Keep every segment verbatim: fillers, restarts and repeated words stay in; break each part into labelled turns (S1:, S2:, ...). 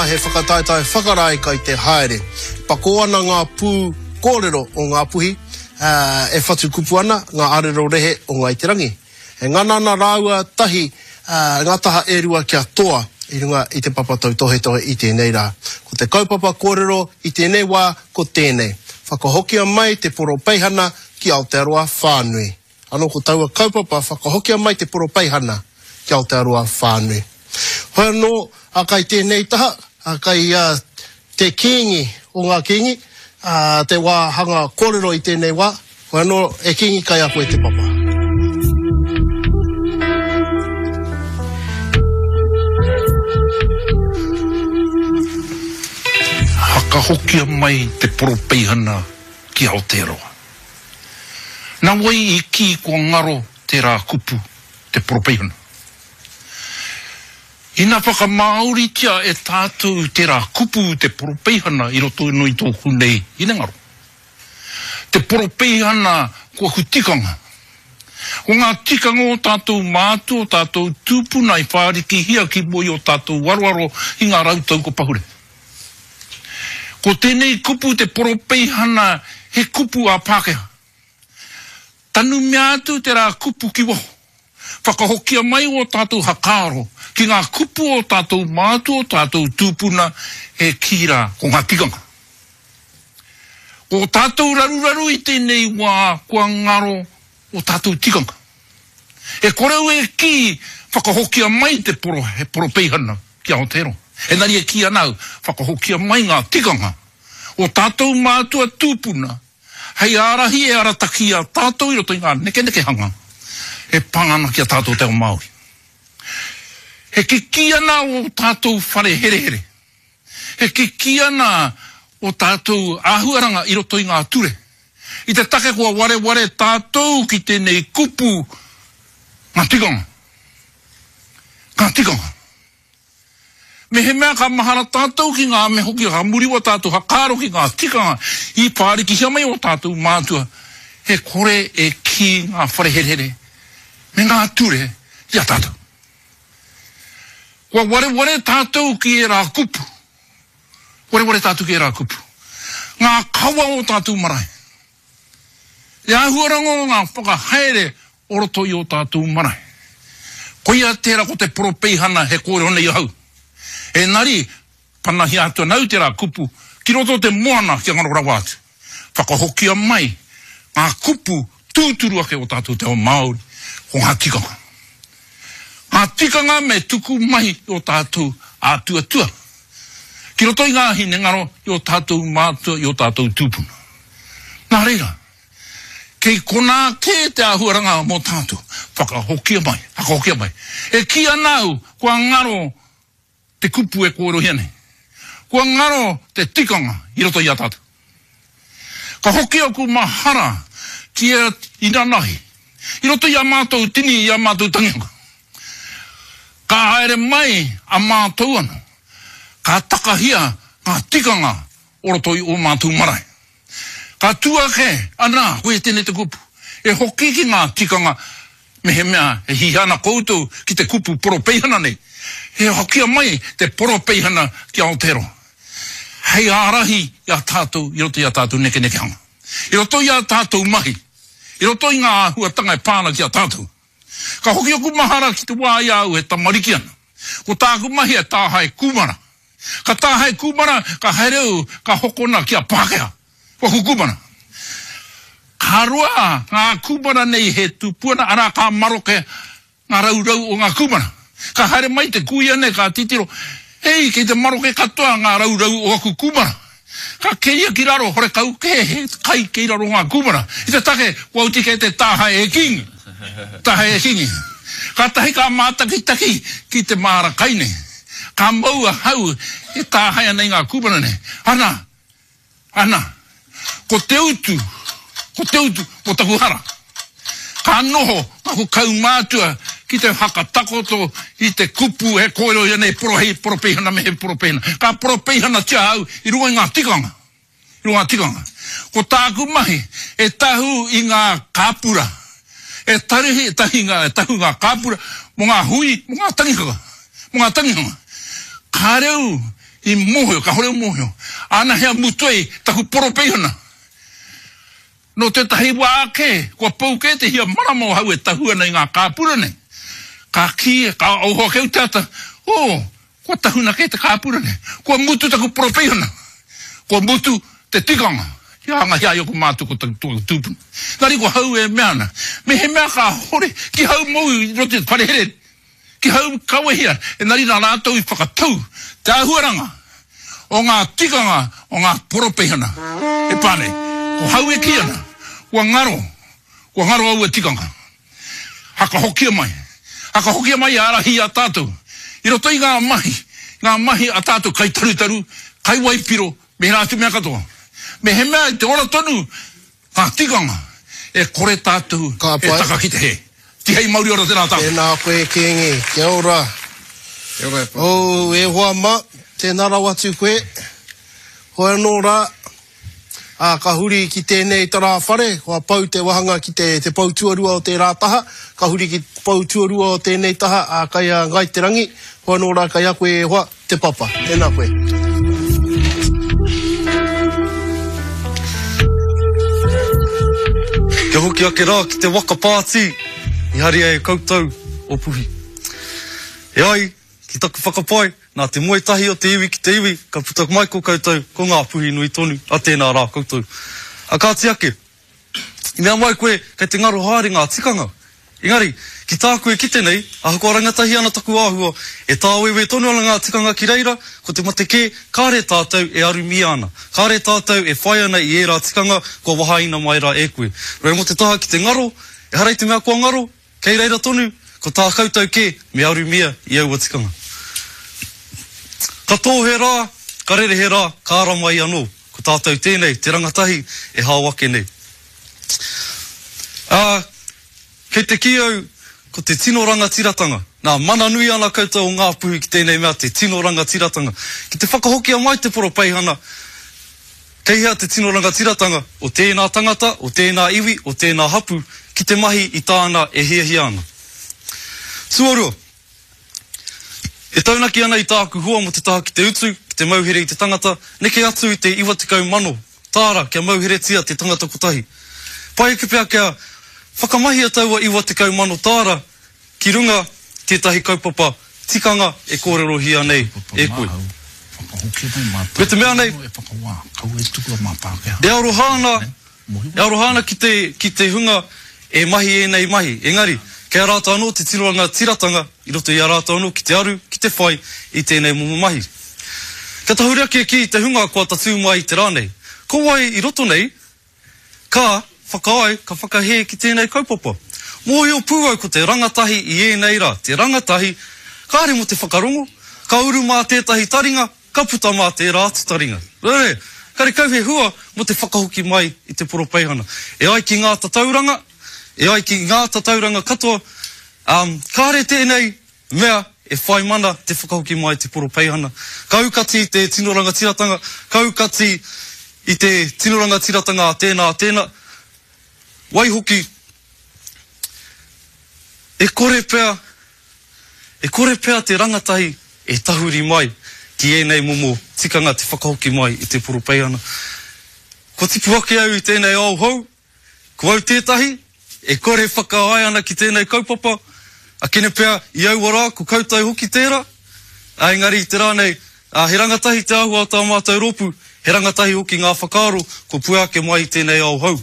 S1: He whakataetae whakarae kai te haere. Pakō ana ngā pū kōrero o Ngāpuhi, e whatu kupu ana ngā arero rehe o Ngāi Te Rangi. E ngana ana rāua tahi ngā taha e rua kia toa i runga i te papa tautohetohe i tēnei rā. Ko te kaupapa kōrero i tēnei wā ko tēnei, Whakahokia mai te poropeihana ki Aotearoa whānui. Anō ko taua kaupapa whakahokia mai te poropeihana ki Aotearoa whānui. Hoi anō, a kai tēnei taha, a kai a, te kīngi o ngā kīngi, a, te wā hanga kōrero i tēnei wā, hoi anō, e Kīngi kai a koe te papa.
S2: Whakahokia mai te poropeihana ki Aotearoa. Nā wai i kī kua ngaro tērā kupu, te poropeihana? Ina whakamāoritia e tātou tērā kupu te poropeihana i roto anō i tōku nei hinengaro. Te poropeihana ko aku tikanga. Ko ngā tikanga o tātou mātua, o tātou tūpuna i whārikihia ki mua i ō tātou aroaro i ngā rautau kua pahure. Ko tēnei kupu te poropeihana he kupu ā-Pākehā. Tanumia atu tērā kupu ki waho. Whakahokia mai ō tātou hakaaro ki ngā kupu o tātou mātua, o tātou tūpuna e kī rā ko ngā tikanga. Ko tātou raruraru i tēnei wā kua ngaro ō tātou tikanga. E kore au e kī whakahokia mai te poro, he poropeihana ki Aotearoa. Engari e kī ana au, whakahokia mai ngā tikanga o tātou mātua tūpuna hei ārahi e arataki i a tātou i roto i ngā nekenekehanga e pā ana ki a tātou te ao Māori. He kikī ana ō tātou whare herehere. He kikī ana ō tātou āhuaranga i roto i ngā ture. I te take kua wareware tātou ki tēnei kupu ngā tikanga. Ngā tikanga. Mehemea ka mahara tātou ki ngā me hoki ka muri wā tātou hakaaro ki ngā tikanga i whārikihia mai ō tātou mātua, he kore e kī ngā whare herehere me ngā ture i a tātou. Kua wareware tātou ki ērā kupu. Wareware tātou ki ērā kupu. Ngā kawa o tātou marae. Te āhuaranga o ngā whakahaere o roto i ō tātou marae. Koia tērā ko te poropeihana he kōrero nei ahau. Engari, panahia atu ana au tērā kupu ki roto o te moana kia ngaro rawa atu. Whakahokia mai ngā kupu tūturu ake o tātou te ao Māori, ko ngā tikanga. Ngā tikanga me tuku mai i ō tātou ātuatua, ki roto i ngā hinengaro i ō tātou mātua, i ō tātou tūpuna. Nā reira, kei konā kē te āhuaranga mō tātou, whakahokia mai, whakahokia mai. E kī ana au, kua ngaro te kupu e kōrerohia nei. Kua ngaro te tikanga i roto i a tātou. Ka hoki aku mahara ki a inanahi, i roto i a mātou tini, i a mātou tangihanga. Ka haere mai a mātou anō, ka takahia ngā tikanga o roto i ō mātou marae. Ka tū ake, anā, koia tēnei te kupu, e hoki ki ngā tikanga mehemea e hiahia ana koutou ki te kupu poropeihana nei, he hokia mai te poropeihana ki Aotearoa, hei ārahi i a tātou i roto i ā tātou nekenekehanga, i roto i ā tātou mahi, i roto i ngā āhuatanga e pā ana ki a tātou. Ka hoki aku mahara ki te wā i a au e tamariki ana. Ko tāku mahi e tāhae kūmara. Ka tāhae kūmara, ka haere au, ka hokona ki a Pākehā. Ko aku kūmara. Ka roa ngā kūmara nei he tupu ana, arā ka maroke ngā raurau o ngā kūmara. Ka haere mai te kuia nei ka titiro, hei, kei te maroke katoa ngā raurau o aku kūmara. Ka keria ki raro, horekau kē he kai kei raro ngā kūmara. I te take, kua oti kē te tāhae e Kīngi. Tāhae e Kīngi. Kātahi ka mātakitaki ki te māra kai nei. Ka mau ahau e tāhae ana i ngā kūmara nei. Ana! Ana, ko te utu, ko te utu mō taku hara. Ka noho aku kaumātua ki te whakatakoto i te kupu he kōrero ia nei porohei, poropeihana me he poropeihana. Ka poropeihanatia au i runga i ngā tikanga, i runga i ngā tikanga. Ko tāku mahi e tahu i ngā kāpura, e tarihi, e tahi ngā, e tahu ngā kāpura mō ngā hui, mō ngā tangihanga, mō ngā tangihanga. Kāre au I mōhio, kāore au mōhio. Āna hea mutu ai taku poropeihana. Nō tētahi wā ake, kua pau kē te hia marama o hau e tahu ana i ngā kāpura nei. Ka kī, ka oho ake au te ata, oh, kua tahuna kē te kāpura nei. Kua mutu taku poropeihana. Kua mutu te tikanga. Kia hangahia ai oku mātua ko taku tūpuna. Engari ko hau e mea ana, mehemea kāore ki hau mou i roto i te whare here, ki hau kawehia, engari nā rātou i whakatau te āhuaranga o ngā tikanga o ngā poropeihana e pā nei. Ko hau e kī ana, kua ngaro, kua ngaro aua tikanga. Hakahokia mai, hakahokia mai e ārahi i a tātou i roto i ngā mahi, ngā mahi a tātou kaitarutaru, kaiwaipiro, me ērā atu mea katoa. Mehemea i te ora tonu ngā tikanga, e kore tātou
S1: Ka
S2: e
S1: pai.
S2: taka ki te hē. Tihei mauri ora tēnā tātou.
S1: Tēnā koe Kīngi. Kia ora.
S3: Kia ora e pā.
S1: Oh, e hoa mā, tēnā rawa atu koe. Hoi anō rā, ā, ka huri ki tēnei tarā whare, kua pau te wahanga ki te, te pou tuarua o tērā taha, ka huri ki te pou tuarua o tēnei taha, ā, kai a Ngāi Te Rangi, hoi anō rā kai a koe e hoa, te papa. Tēnā koe.
S4: Kia hoki ake rā ki te waka pātī i haria e koutou o Puhi. E ai ki taku whakapae, nā te moe tahi o te iwi ki te iwi, ka puta mai ko koutou, ko ngā puhi nui tonu, a tēnā rā koutou. A kāti ake, i mea mai koe kei te ngaro haere ngā tikanga. Engari, ki tāku e kite nei, ahakoa rangatahi ana taku āhua, e tāwewe tonu ana ngā tikanga ki reira, ko te mate kē, kāre tātou e arumia ana. Kāre tātou e whai ana i ērā tikanga kua wahaina mai rā e koe. Nō reira mō te taha ki te ngaro, ehara i te mea kua ngaro, kei reira tonu, ko tā koutou kē me arumia i aua tikanga. Ka tō he rā, ka rere he rā, ka ara mai anō. Ko tātou tēnei, te rangatahi e hao ake nei. Ā, kei te kī au, ko te tino rangatiratanga. Nā, mana nui ana koutou o Ngāpuhi ki tēnei mea, te tino rangatiratanga. Ki te whakahokia mai te poropeihana, kei hea te tino rangatiratanga o tēnā tangata, o tēnā iwi, o tēnā hapu, ki te mahi i tāna e hiahia ana. Tuarua, e taunaki ana i tāku hua mō te taha ki te utu, ki te mauhere i te tangata, neke atu i te iwa tekau mano tāra kia mauheretia te tangata kotahi. Pai ake pea kia whakamahia taua iwa tekau mano tāra ki runga tētahi kaupapa tikanga e kōrerohia nei e koe. Me te mea nei, e aroha ana, e aroha ana ki te, ki te hunga e mahi ēnei mahi. Engari, kei a rātou anō te tino rangatiratanga i roto i a rātou anō ki te aru, ki te whai i tēnei momo mahi. Kia tahuri ake ki te hunga kua tatū mai i te rā nei. Ko wai i roto nei, ka whakaae, ka whakahē ki tēnei kaupapa. Mōhio pū au ko te rangatahi i ēnei rā. Te rangatahi, kāre mō te whakarongo, ka uru mā tētahi taringa, ka puta mā tērā atu taringa. Rere, karekau he hua mō te whakahoki mai i te poropeihana. E ai ki ngā tatauranga, e ai ki ngā tatauranga katoa, um, kāre tēnei mea e whai mana te whakahoki mai i te poropeihana. Ka aukati i te tino rangatiratanga, ka aukati i te tino rangatiratanga a tēnā, a tēnā. Waihoki, e kore pea, e kore pea te rangatahi e tahuri mai ki ēnei momo tikanga te whakahoki mai i te poropeihana. Kua tipu ake au i tēnei ao hou, ko au tētahi, e kore whakaae ana ki tēnei kaupapa, a kene pea i aua rā, ko koutou hoki tērā, a engari i te rā nei, a he rangatahi te āhua o tā mātou rōpū, he rangatahi hoki ngā whakaaro kua pua ake mai i tēnei ao hou.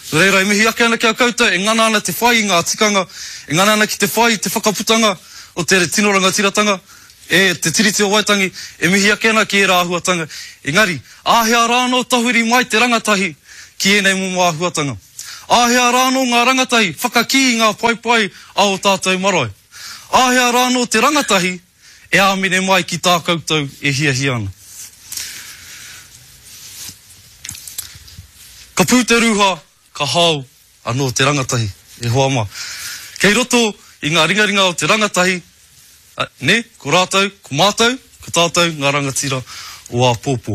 S4: Nō reira, e mihi ake ana ki a koutou, e ngana ana te whai i ngā tikanga, e ngana ana ki te whai i te whakaputanga o te tino rangatiratanga, e te Tiriti o Waitangi, e mihi ake ana ki ērā āhuatanga. Engari, āhea rā anō tahuri mai te rangatahi ki ēnei momo āhuatanga. Āhea rā anō ngā rangatahi whakakī i ngā paepae a o tātou marae. Āhea rā anō te rangatahi e āmine mai ki tā koutou e hiahia ana. Ka pū te rūha, ka hao anō te rangatahi, e hoa mā. Kei roto i ngā ringaringa o te rangatahi, a, ne, ko rātou, ko mātou, ko tātou ngā rangatira o āpōpō.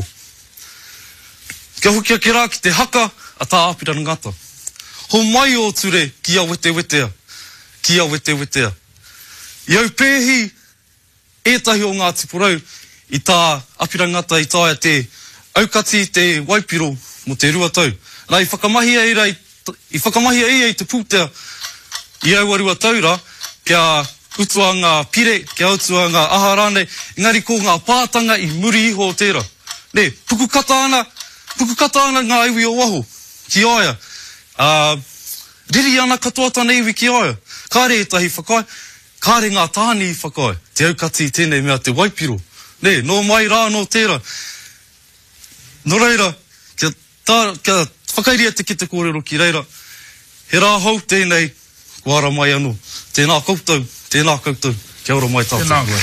S4: Kia hoki ake rā ki te haka a tā Āpirana Ngata. Ho mai o ture ki a wetewetea, ki a wetewetea. I au pēhi ētahi o Ngāti Porou i tā Apirana Ngata i taea te aukati i te waipiro mō te rua tau. Nā, i whakamahia ira i, i whakamahia ia i te pūtea i aua rua tau rā, kia utua ngā pire, kia utua ngā aha rānei, engari ko ngā pātanga i muri iho o tērā. Nē, pukukata ana, pukukata ana ngā iwi o waho ki a ia. Ā, riri ana katoa tana iwi ki a ia. Kāre ētahi whakaae, kāre ngā tāne i whakaae, te aukati i tēnei mea te waipiro. Nē, nō mai rā anō tērā. Nō reira, kia, tā, kia whakairia te kete kōrero ki reira, he rā hou tēnei, kua ara mai anō. Tēnā koutou, tēnā koutou, kia ora mai tātou.
S2: Tēnā koe.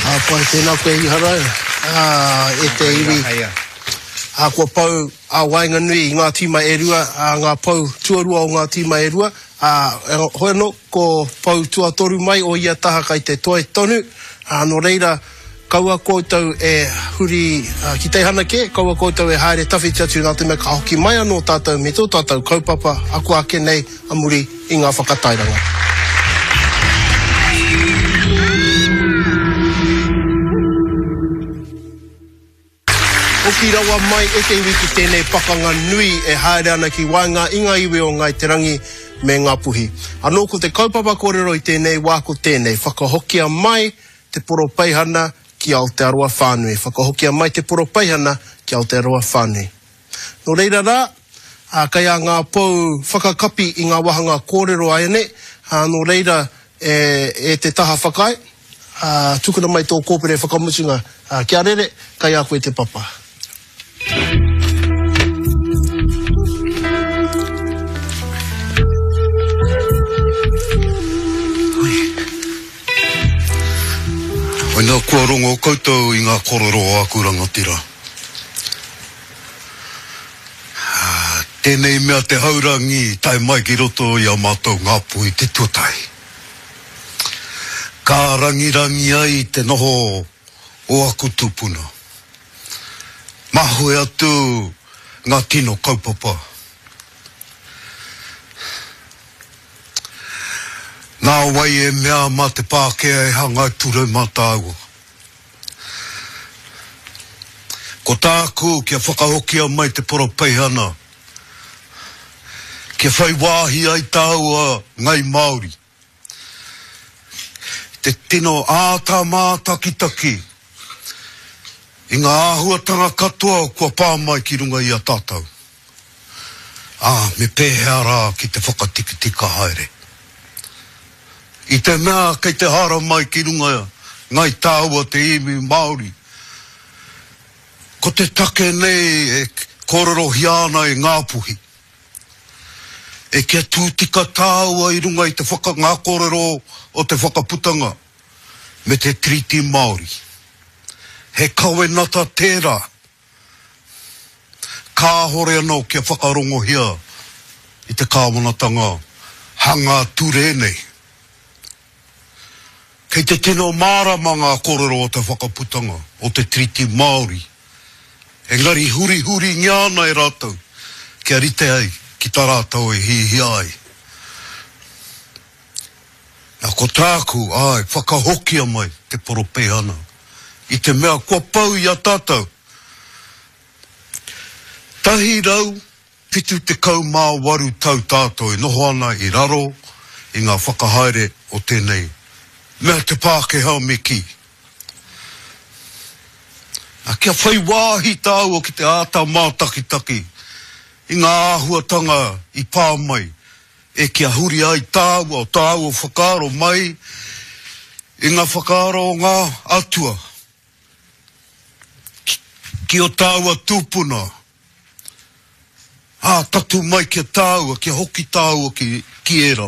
S1: Ā, pai, tēnā koe Iharaira, ā, e te iwi. Ā, kua pau ā waenganui i ngā tīma e rua, ā, ngā pou tuarua o ngā tīma e rua, ā, hoi anō, ko pou tuatoru mai o ia taha kai te toe tonu, ā, nō reira, kaua koutou e huri ki teihana kē, kaua koutou e haere tawhiti atu nā te mea ka hoki mai anō tātou me tō tātou kaupapa ako ake nei a muri i ngā whakatairanga. Hoki rawa mai e te iwi ki tēnei pakanga nui e haere ana ki waenga i ngā iwi o Ngāi Te Rangi me Ngāpuhi. Anō ko te kaupapa kōrero i tēnei wā ko tēnei, whakahokia mai te poropeihana ki Aotearoa whānui. Whakahokia mai te poropeihana ki Aotearoa whānui. Nō reira rā, ā, kei a ngā pou whakakapi i ngā wāhanga kōrero āianei, ā, nō reira e, e te taha whakaae, ā, tukuna mai tō kōpere whakamutunga, ā, kia rere, kei a koe te papa.
S5: Hoina kua rongo koutou i ngā korero o aku rangatira. Tēnei mea te haurangi i tae mai ki roto i a mātou Ngāpuhi te tuatahi. Ka rangirangi ai te noho o aku tūpuna. Mahue atu ngā tino kaupapa. Nā wai e mea mā te Pākehā e hanga ture mā tāua. Ko tāku kia whakahokia mai te poropeihana, kia whai wāhi ai tāua Ngai Māori. Te tino āta mātakitaki i ngā āhuatanga katoa kua pā mai ki runga i a tātou. Ā, me pēhea rā ki te whakatikatika haere. I te mea kei te hara mai ki runga Ngai Tāua te iwi Māori, ko te take nei e kōrerohia ana e Ngāpuhi, e kia tū tika tāua i runga i te whaka, ngā kōrero o te whakaputanga me te Tiriti Māori. He kawenata tērā, kāhore anō kia whakarongohia i te kāwanatanga hanga ture nei. Kei te tino mārama ngā kōrero o te whakaputanga o te Tiriti Māori, engari hurihuringia ana e rātou kia rite ai ki tā rātou e hihia ai. Nā, ko tāku, āe, whakahokia mai te poropeihana i te mea kua pau i a tātou. Tahi rau whitu tekau mā waru tau tātou e noho ana i raro i ngā whakahaere o tēnei mea te Pākehā me kī. Nā, kia whai wāhi tāua ki te āta mātakitaki i ngā āhuatanga i pā mai, e kia huri ai tāua o tāua whakaaro mai i ngā whakaaro o ngā atua, ki, ki o tāua tūpuna, ā, tatu mai ki a tāua, kia hoki tāua ki, ki ērā.